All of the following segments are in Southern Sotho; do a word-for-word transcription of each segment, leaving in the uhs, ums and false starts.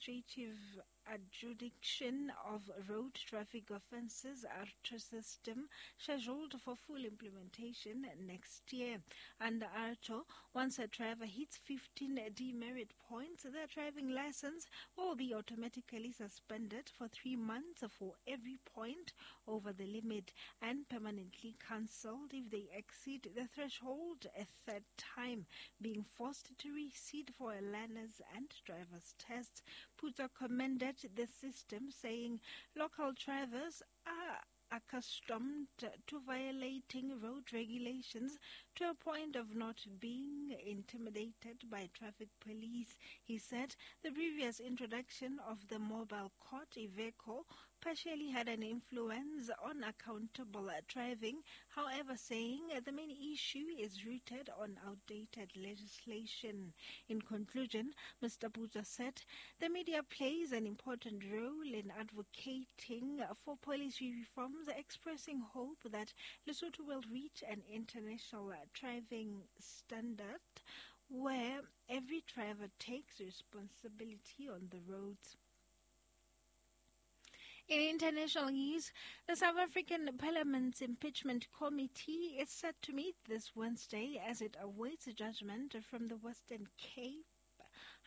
Administrative Adjudication of Road Traffic Offences AARTO system, scheduled for full implementation next year. Under AARTO, once a driver hits fifteen demerit points, their driving license will be automatically suspended for three months for every point over the limit and permanently cancelled if they exceed the threshold a third time, being forced to resit for a learner's and driver's test. Puta commended the system, saying local drivers are accustomed to violating road regulations to a point of not being intimidated by traffic police. He said the previous introduction of the mobile court Iveco partially had an influence on accountable driving, however, saying the main issue is rooted on outdated legislation. In conclusion, Mister Puta said the media plays an important role in advocating for policy reforms, expressing hope that Lesotho will reach an international driving standard where every driver takes responsibility on the roads. In international news, the South African Parliament's Impeachment Committee is set to meet this Wednesday as it awaits a judgment from the Western Cape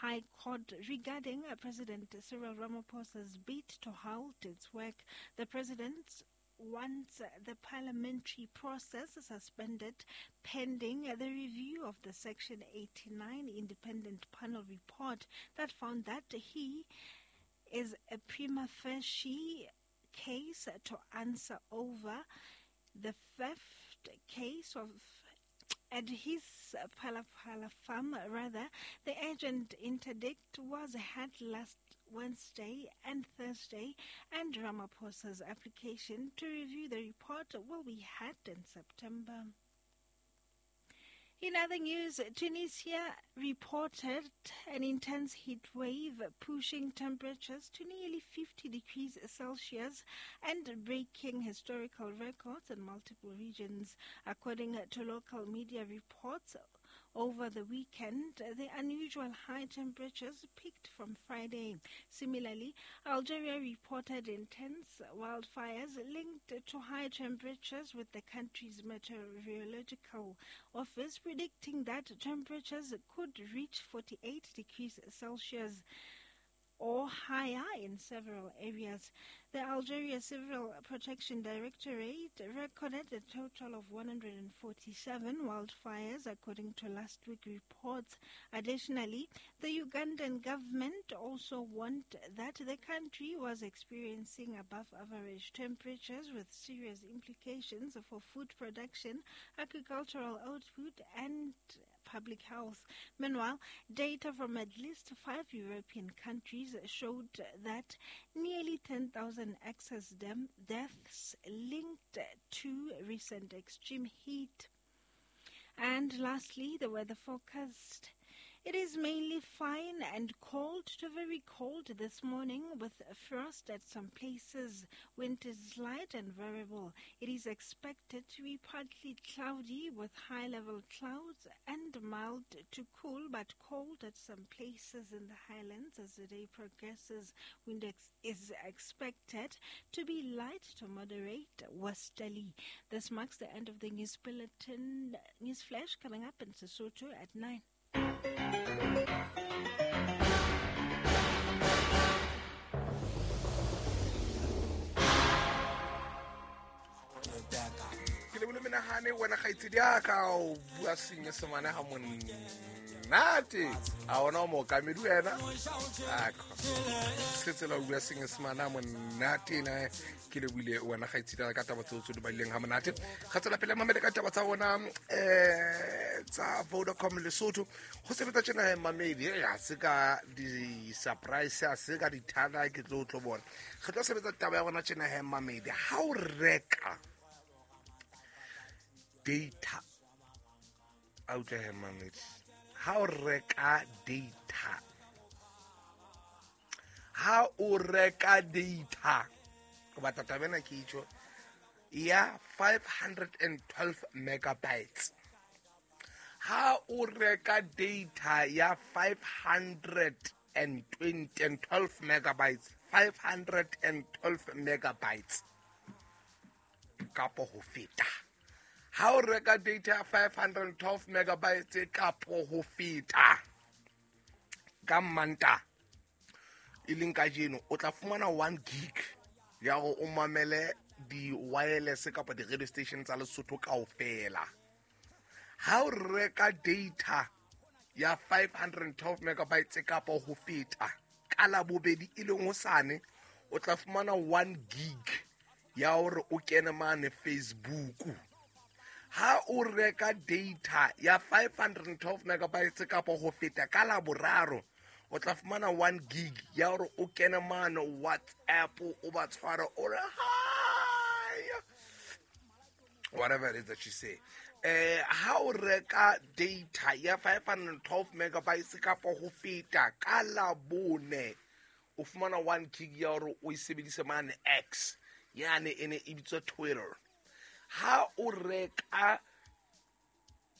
High Court regarding President Cyril Ramaphosa's bid to halt its work. The president wants the parliamentary process suspended pending the review of the Section eighty-nine Independent Panel report that found that he is a prima facie case to answer over the theft case of at his Phala Phala farm. Rather, the urgent interdict was had last Wednesday and Thursday, and Ramaphosa's application to review the report will be had in September. In other news, Tunisia reported an intense heat wave pushing temperatures to nearly fifty degrees Celsius and breaking historical records in multiple regions. According to local media reports, over the weekend, the unusual high temperatures peaked from Friday. Similarly, Algeria reported intense wildfires linked to high temperatures, with the country's meteorological office predicting that temperatures could reach forty-eight degrees Celsius or higher in several areas. The Algeria Civil Protection Directorate recorded a total of one hundred forty-seven wildfires, according to last week's reports. Additionally, the Ugandan government also warned that the country was experiencing above-average temperatures with serious implications for food production, agricultural output, and public health. Meanwhile, data from at least five European countries showed that nearly ten thousand excess dem- deaths linked to recent extreme heat. And lastly, the weather forecast. It is mainly fine and cold to very cold this morning, with frost at some places. Wind is light and variable. It is expected to be partly cloudy with high-level clouds and mild to cool but cold at some places in the highlands as the day progresses. Wind ex- is expected to be light to moderate westerly. This marks the end of the news bulletin. News flash coming up in Sesotho at nine. Ke le bole menahane wena kgaitsedi ya ka o bua senyesemane ha monate a ona o mookamedi wena se tsela o bua senyesemane ha monate na ke le buile wena kgaitsedi ya ka taba tseo tse di balileng ha monate ga tsela pele mamele ka taba tsa bona eh tsa Vodacom Lesotho go sebetsa tjena he mamedi ya se ka di surprise ya se ka di thana ke tlo tlo bona re tlo sebetsa taba ya bona tjena he mamedi ha o reka data a utlwa he mamedi ha o reka data ha o reka data go batla taba ena ke itjho ya five hundred twelve megabytes ha o reka data ya five hundred twenty and twelve megabytes, five hundred twelve megabytes kapo ho feta. Ha o reka data ya five hundred twelve megabytes kapo ho feta ka Manta e leng kajeno, o tla fumana one gig ya hore o mamele di-wireless kapa di-radio station tsa Lesotho kaofela. Ha o reka data ya five hundred twelve megabytes kapa ho feta ka Labobedi e leng hosane, o tla fumana one gig ya hore o kene mane Facebook. Ha o reka data ya five hundred twelve megabytes kapa ho feta ka Laboraro, o tla fumana one gig ya hore o kene mane WhatsApp, o ba tshware o re hi, whatever it is that you say. Eh, ha o reka data ya five hundred twelve megabytes kapa ho feta ka Labone, o fumana one gig ya hore o e sebedise mane X, yane e ne e bitswa Twitter. Ha o reka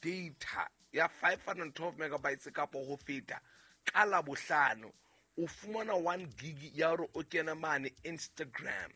data ya five hundred twelve megabytes kapa ho feta ka Labohlano, o fumana one gig ya hore o kene mane Instagram.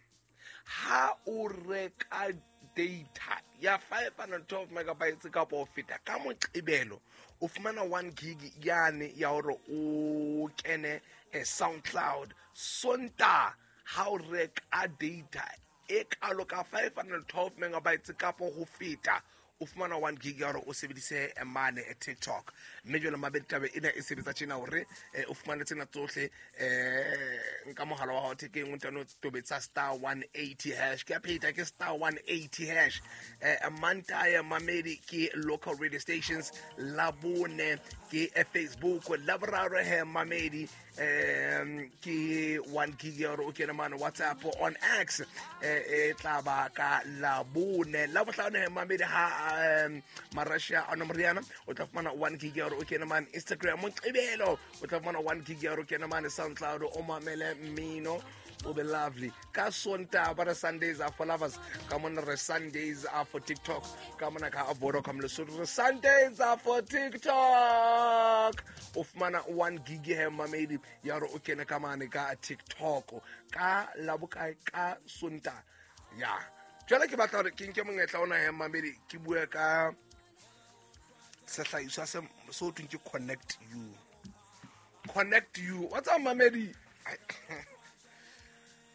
Ha o reka data ya five hundred twelve megabytes kapa ho feta ka Moqebelo, o fumana one gig yane ya hore o kene SoundCloud. Sonta ha o reka data e kalo ka five hundred twelve megabytes kapa ho feta, o fumana one gig ya hore o sebedise mane TikTok. Mme jwale mabedi taba ena e sebetsa tjena hore o fumane tsena tsohle eh nka mohala wa hao thekeng, o ntano tobetsa star one eighty hash. Ke a pheta, ke star one eighty hash. Eh Mantaya mamedi ke local radio stations, Labone ke Facebook, Laboraro he mamedi um ke one gig ya hore o kene mane WhatsApp on X e tla ba ka Labone. Labohlano he mamedi ha um Marasha Anomriana, o tla fumana one gig ya hore o kene mane Instagram. Moqebelo o tla fumana one gig ya hore o kene mane SoundCloud, o mamele mmino o be lovely. Ka Sonta ba re Sundays are for lovers, ka mona re Sundays are for TikTok, ka mona ka Vodacom Lesotho re Sundays are for TikTok. O fumana one gig he mamedi ya hore o kene ka mane ka TikTok ka Labokae ka Sonta. Ya jwale ke batla hore ke nke monyetla ona he mamedi ke bue ka sehlahiswa se so thweng ke Connect You. Connect You. What's up mamedi?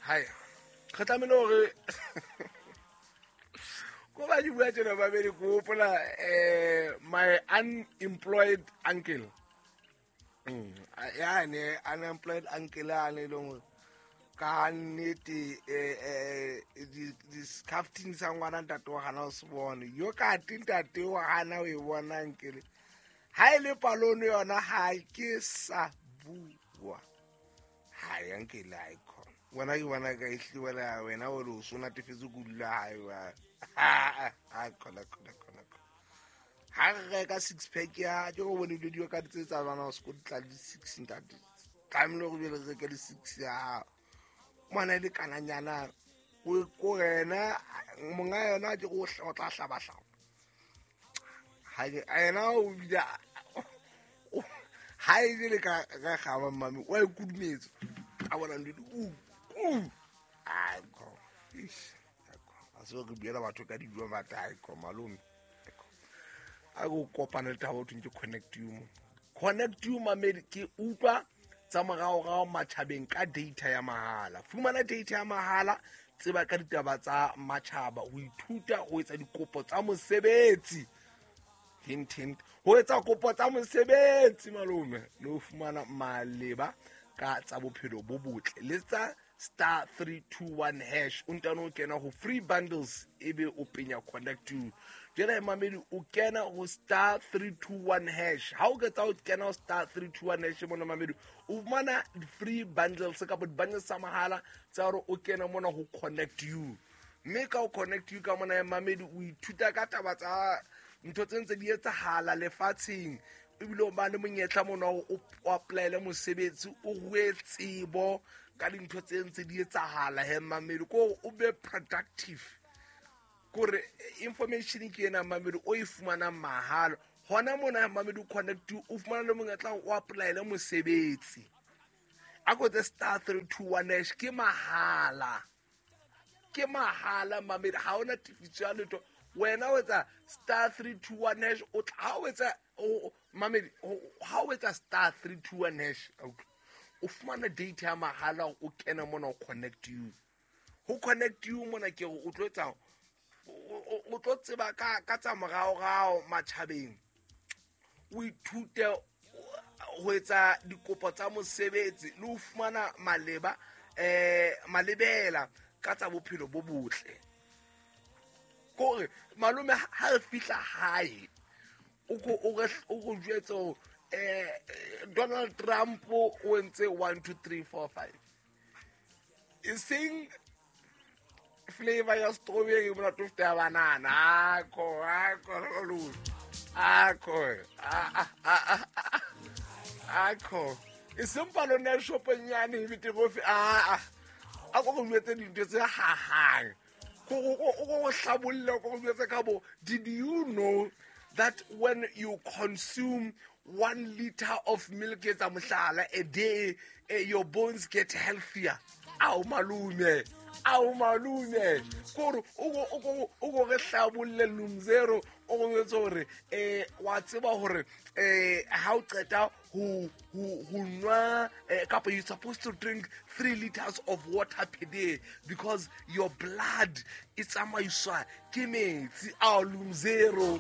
Hi. Re tlamehile hore ko ba di bua tjena mamedi, ke hopola eh my unemployed uncle. Mm, yane unemployed uncle a ne leng hore ka nnete eh di-scafting sa ngwana ntate wa gana o se bone yo ka te ntate wa gana o e bona nkele ha e le palone yona ha ke sa bua ha ya nkele ha e khona wena ke bona ka e hliwela wena o re o so natefetse ko dula hae wa ha khona khona khona ha re reka six pack ya ke go bone dilo di ka tse tsa bana o se go tla di six ntate tlamehile go be re reke di six ya ngwana le kananyana o ko yena monga yona ke go o tla hlaba hlaba ha yena o bile ha e le ka ka gaba mami o e kudumetse a bona ndi u u a go ish a se re buela batho ka dijo ba ta ko malome a go kopana le taba o thweng ke Connect You mo. Connect You mamedi ke utlwa tsa moraorao matjhabeng ka data ya mahala. Fumana data ya mahala, tseba ka ditaba tsa matjhaba, ho ithuta, ho etsa dikopo tsa mosebetsi. Hint hint, ho etsa kopo tsa mosebetsi malome, le ho fumana maleba ka tsa bophelo bo botle. Le tsa star three two one hash, o ntano o kena ho free bundles ebe o penya Connect You. Jwale mamedi o kena ho star three two one hash. Ha o ketsa o kena ho star three two one hash mona mamedi, o fumana free bundles kapa di-bundles tsa mahala tsa hore o kena mona ho Connect You. Mme ka o Connect You ka mona mamedi o ithuta ka taba tsa ntho tse ntse di etsahala lefatsheng, ebile o ba le monyetla mona o o apply-ele mosebetsi, o rue tsebo ka dintho tse ntse di etsahala he mamedi, ko o be productive. Kore information ke ena mamedi o e fumanang mahala hona mona mamedi Connect You, o fumana le monyetla o apply-ele mosebetsi. A ko tse star three two one hash ke mahala. Ke mahala mamedi ha ona tifiso ya letho. Wena o etsa star three two one hash o tla o etsa mamedi ha o etsa star three two one hash o fumana data ya mahala o kena mona o connect you. Ho connect you mona ke o tlo etsa o tlo tseba ka ka tsa moraorao matjhabeng. O ithute ho etsa dikopo tsa mosebetsi le ho fumana maleba eh malebela ka tsa bophelo bo botle. Kore malome ha re fihla hae o ko o re o go jwetse eh Donald Trump o entse one two three four five. E seng flavor ya strawberry mona to feta banana. Akho akho lo akho a a akho e seng palo na shopong nyane e bete go fe a a go go jwetse dintho tse hahang. Did you know that when you consume one liter of milk a day, your bones get healthier? Ao malume, ao malume. Koro o o o go re hlabolle lumzero o go jwetse hore eh wa tseba hore eh ha o qeta ho ho ho nwa kapa you supposed to drink three liters of water per day because your blood e tsamaiswa ke metsi. Ao lumzero.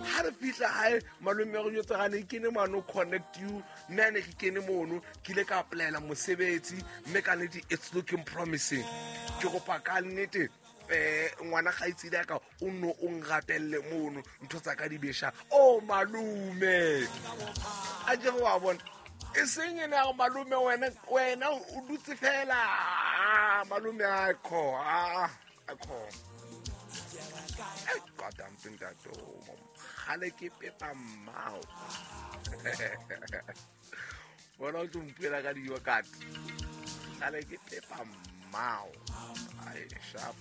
Ha re fihla hae malome ya go jwetsa gane ke ne mano connect you nna ne ke kene mono ke ile ka applyela mosebetsi mme ka nnete it's looking promising. Ke kopa ka nnete eh ngwana gaitsi ya ka o no o nrapelle mono ntho tsa ka di besha. Oh malume a je wa bona e seng ena go malume wena wena o dutse fela malume a kho a kho goddamn thing that oh gale ke pepa mmao. Bona o tlo ka dijo kat gale ke pepa mmao. Ai sharp.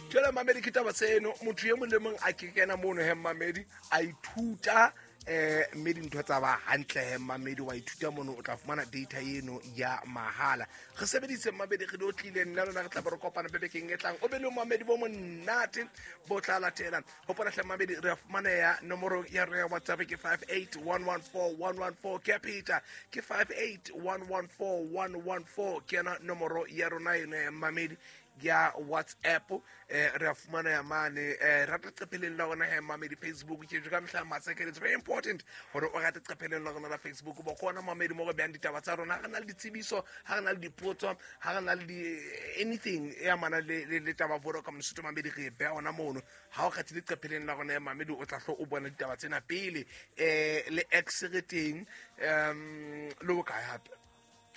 Tjela mamedi ke taba tseno motho e mong le mong a ke kena mono he mamedi a ithuta eh mme dintho tsa ba hantle he mamedi wa ithuta mono o tla fumana data eno ya mahala. Re sebedise mamedi re do tlile nna lona re tla ba re kopana bebekeng e tlang. O be le mamedi bo monate bo tla latela. Hopola hle mamedi re fumana ya nomoro ya re ya WhatsApp ke five eight one one four one one four ke Peter ke five eight one one four one one four ke yona nomoro ya rona eno mamedi ya WhatsApp eh re fumana ya mane eh rata qepeleng la rona he mamedi Facebook ke ka mehla matsekele. It's very important hore o rate qepeleng la rona la Facebook bo kona mamedi mo re beang ditaba tsa rona. Ha re na le ditsebiso, ha re na le dipotso, ha re na le di anything e amana le le taba Vodacom Lesotho mamedi re beha ona mono. Ha o kgathile qepeleng la rona ya mamedi o tla hlo o bona ditaba tsena pele eh le X re teng um le bokae hape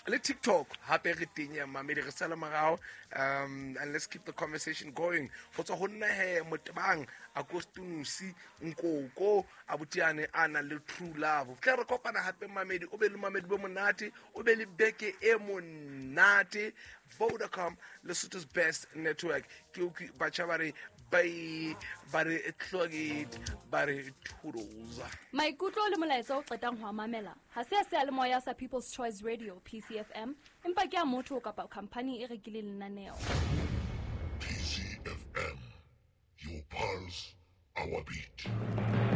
le TikTok hape re teng ya mamedi re sala morao um and let's keep the conversation going. Go tswa ho nna he Motebang Akostunusi Nkoko abutiane a na le true love. Tla re kopana hape mamedi o be le mamedi bo monate o be le beke e monate. Vodacom Lesotho's best network. Ke o batjha ba re bye ba re tlogit ba re toodles. Maikutlo le molaetsa o qetang ho mamela ha se a seyalemoya sa People's Choice Radio P C F M empa ke a motho kapa company e rekileng lenaneo. P C F M, your pulse, our beat.